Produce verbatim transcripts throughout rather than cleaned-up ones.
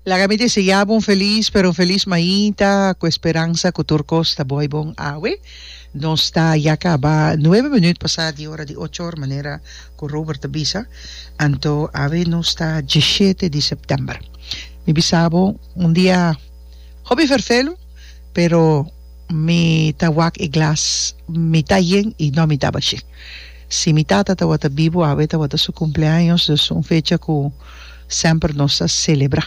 Laga mi deseá bo un felis pero un felis mainta ku esperansa ku tur kos ta bai bon awe. Nos ta ya kaba nuebe minuut pasá di ora di ocho or manera ku Robert ta bisa. Anto awe nos ta diesshete di sèptèmber. Mi bisa bo un dia hopi ferfelu pero mi ta wak e glas mitá yen i no mitá bashí. Si mi tata tabata bibu awe tabata su kumpleaños dus un fecha ku semper nos ta selebrá.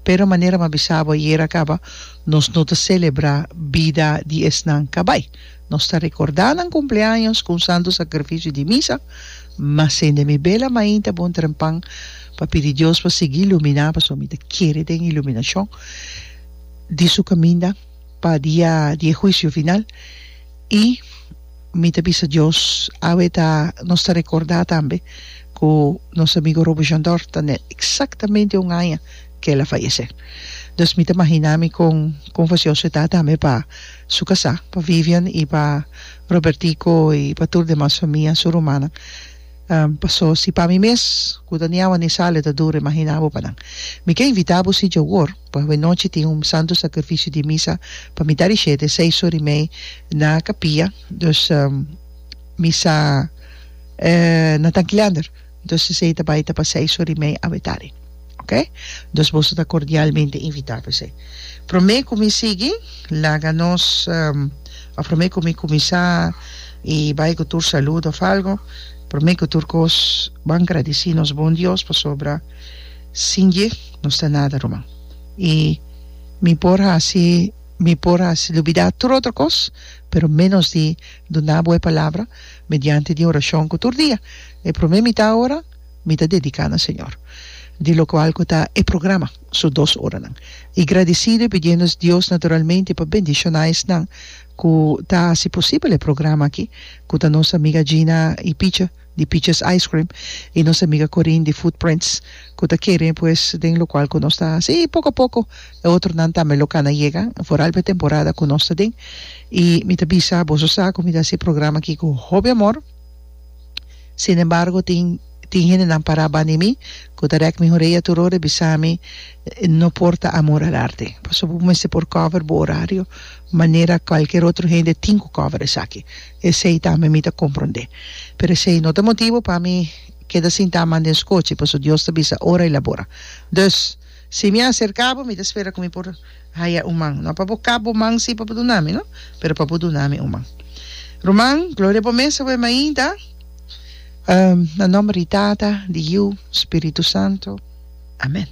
Pero manera mi a bisa bo ayera kaba, nos no ta selebrá bida di esnan ka bai. Nos ta rekordá nan kumpleaños ku un santu sakrifisio di misa, ma sende mi bela mainta bon trempan pa pidi Dios pa sigui iluminá, pasobra mi ta kere den iluminashon di su kaminda pa dia di e huisio final. I mi ta bisa Dios, awe ta nos ta rekordá tambe ku nos amigo Robo Jandor ta net eksaktamente un aña ku el a fayesé. Dus mi ta maginá mi kon kon fasioso e ta tambe pa su kasá, pa Vivian i pa Robertico i pa tur demas famia, su rumannan. Paso si pa mi mes ku ta ni awa ni sal e ta duru imaginá bo pa nan. Mi ke invitá bo si djawor pa awenochi tin un santu sakrifisio di misa pa mitá di shete, seis ora i mei, na kapia. Dus misa na Tankilander. Dus esei ta bai ta pa seis ora i mei awe tardi. Ok? Dus boso ta kordialmente invitá pa esei. Promé ku mi sigui, laga nos, òf promé ku mi kuminsá i bai ku tur saludo òf algu, promé ku tur kos ban gradisí nos bon Dios pasobra sin dje nos ta nada, ruman. I mi por hasi, mi por hasi lubidá tur otro kos, pero ménos di duna bo e palabra mediante di orashon ku tur dia e promé mitá ora mi ta dediká na Señor, di lokual ku ta e programa su dos oranan. I gradisido i pidiendo Dios naturalmente pa bendishoná esnan ku ta hasi posibel e programa aki, ku ta nos amiga Gina i Picha di Picha's Ice Cream i nos amiga Corinne di Footprints ku ta kere pues den lokual ku nos ta hasi i poko a poko e otronan tambe lo kana yega foral pa e temporada ku nos ta den. I mi ta bisa boso sa ku mi ta hasi e programa aki ku hopi amor. Sinembargo tin tin hendenan pará banda di mi ku ta rèk mi horea tur ora i bisa mi, No por ta amor al arte, pasobra bo mester por cover bo orario manera kualker otro hende tin ku cover esaki. Esei tambe mi ta komprondé. Pero esei no ta motibu pa mi keda sintá man den skochi, pasobra Dios ta bisa ora i labora. Dus, si mi a aserká bo, mi ta spera ku mi por haya un man. No pa bo kap bo man sí pa bo duna mi, no, pero pa bo duna mi un man. Ruman, gloria bo mes awe mainta. Na nomber di Tata, di Yu, Spiritu Santo. Amen.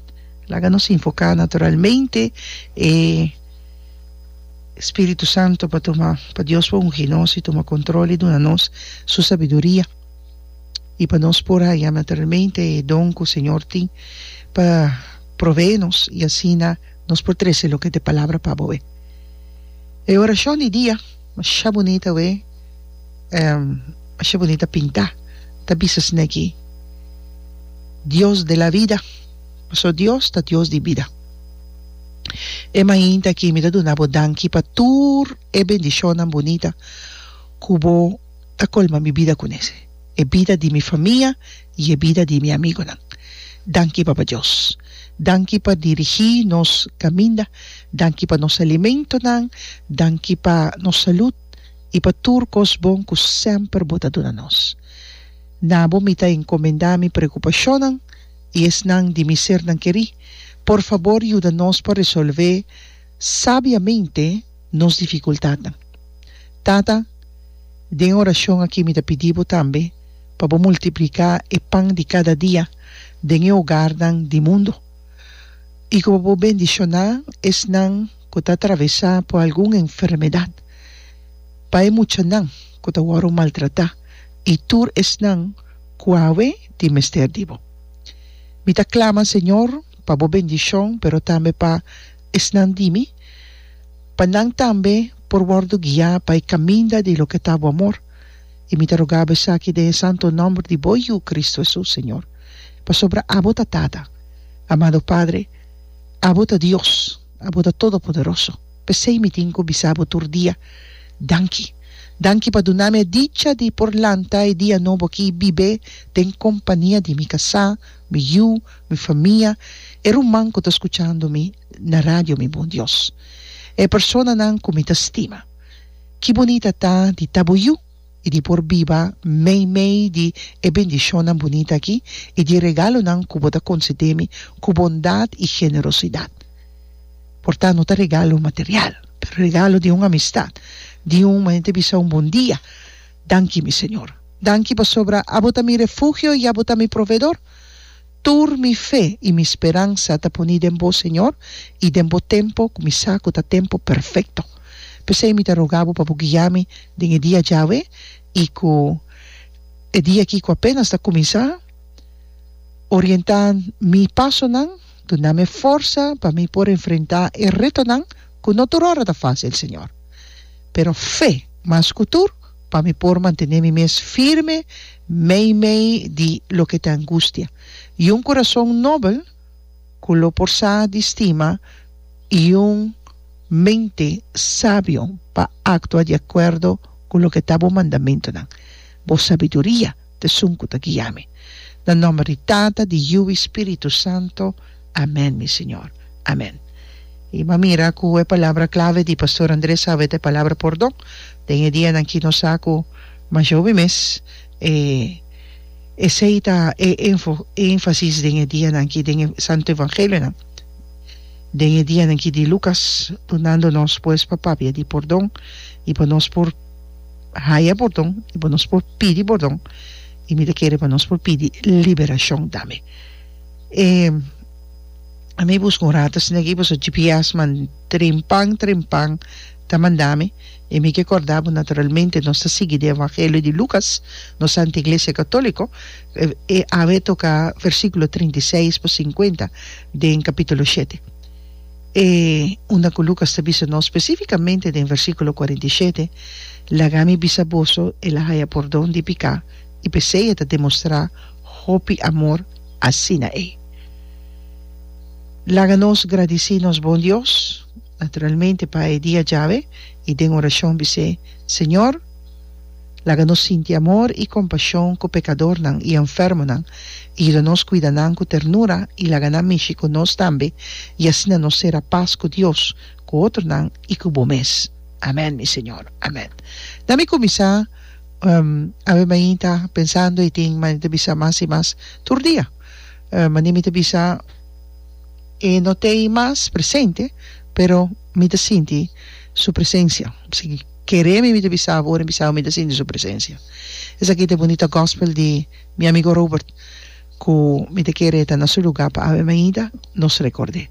Laga nos invoká naturalmente e Spiritu Santo pa tuma, pa Dios por ungi nos i tuma kontrol i duna nos su sabiduria i pa nos por haña naturalmente e don ku Señor tin pa proveé nos i asina nos por trese loke ta e palabra pa bo. E orashon di dia masha bunita we. Masha bunita pintá ta bisa esneki, Dios de la vida, pasobra Dios ta Dios di bida. E mainta aki mi ta duna bo danki pa tur e bendishonnan bunita ku bo ta kolma mi bida kunes, e bida di mi famia i e bida di mi amigonan. Danki Papa Dios. Danki pa dirigí nos kaminda, danki pa nos alimentonan, danki pa nos salud. I pa tur kos bon ku semper bo ta duna nos. Na bo mi ta enkomendá mi preokupashonnan i esnan di mi sernan kerí. Por fabor yuda nos pa resolvé sabiamente nos difikultatnan. Tata, den e orashon akí mi ta pidi bo tambe pa bo multipliká e pan di kada dia den e hogarnan di mundu i ku bo por bendishoná esnan ku ta atravesá por algun enfermedat. Pa e muchanan ku ta wòrdu maltratá i tur esnan ku awe tin mester di bo. Mi ta klama, Señor, pa bo bendishon, pero tambe pa esnan di mi, pa nan tambe por wòrdu guiá pa e kaminda di loke ta bo amor. I mi ta roga bo esaki den e santu nòmber di bo Yu, Kristu Hesus, Señor. Pasobra abo ta Tata, amado Padre, abo ta Dios, abo ta Todopoderoso. P'esei mi tin ku bisa bo tur dia, Danki. Danki pa duna mi e dicha di por lanta e dia nobo aki i bib'é den kompania di mi kasá, mi yu, mi famia E ruman ku ta skuchando mi na radio, mi bon Dios. E personanan ku mi ta stima. Ki bunita ta di ta bo yu i di por biba meimei di e bendishonnan bunita akí i di e regalonan ku bo ta konsedé mi ku bondat i generosidat. Por ta no ta regalo material, pero regalo di un amistat, di un manera ta bisa un bon dia. Danki, mi Señor. Danki pasobra abo ta mi refugio i abo ta mi proveedor. Tur mi fe i mi speransa ta poni den bo, Señor, i den bo tempo ku mi sa ku ta tempo perfekto. P'esei mi ta roga bo pa bo guia mi den e dia djawe i ku e dia aki ku apenas ta kuminsá. Orientá mi pasonan, duna mi forsa pa mi por enfrentá e retonan ku no tur ora ta fásil, Señor. Pero fe mas ku tur pa mi por mantené mi mes firme meimei di loke ta angustia, i un kurason nobel ku lo por sa di stima i un mente sabio pa aktua di akuerdo ku loke ta bo mandamentunan. Bo sabiduria ta esun ku ta guia mi. Na nòmber di Tata, di Yu i Spiritu Santo. Amèn, mi Señor. Amèn. I m'a mira ku e palabra klave di Pastor Andres awe ta e palabra pordon. Den e dianan ki nos sa ku masha hopi mes e esei ta e énfasis den e dianan ki den e Santo Evangelionan. Den e dianan ki di Lukas dunando nos pues pa papia di pordon i pa nos por haya pordon i pa nos por pidi pordon i mi ta kere pa nos por pidi liberashon tambe. E ami buska un rato asina aki pasobra G P S man trempan trempan ta manda mi i mi ke korda bo naturalmente nos ta sigui den evangelio di Lukas nos Santa Iglesia Katoliko e awe toka versikulo trinta i seis pa sinkuenta den kapitulo shete e unda ku Lukas ta bisa nos spesifikamente den versikulo kuarenta i shete laga mi bisa boso el a haya pordon di piká i p'esei e ta demostrá hopi amor asina ei. Laga nos gradisí nos bon Dios, naturalmente pa e dia djawe, i den orashon bis'é, Señor, laga nos sinti amor i kompashon ku pekadornan i enfermonan, i yuda nos kuida nan ku ternura i laga nan mishi ku nos tambe, i asina nos sera pas ku Dios, ku otronan i ku Bo mes. Amèn, mi Señor. Amèn. Na mi kuminsá. Awe mainta pensando y tin mane ta bisa mas y mas tur dia. Mane mi ta bisa e no t'ey mas presente pero mi ta sinti su presencia. Si kere mi mi ta bisa ora mi bisa mi ta sinti su presencia. Esaki ta e bunita gospel di mi amigo Robert cu mi ta kere ta na su lugar pa awe mainta nos recorde.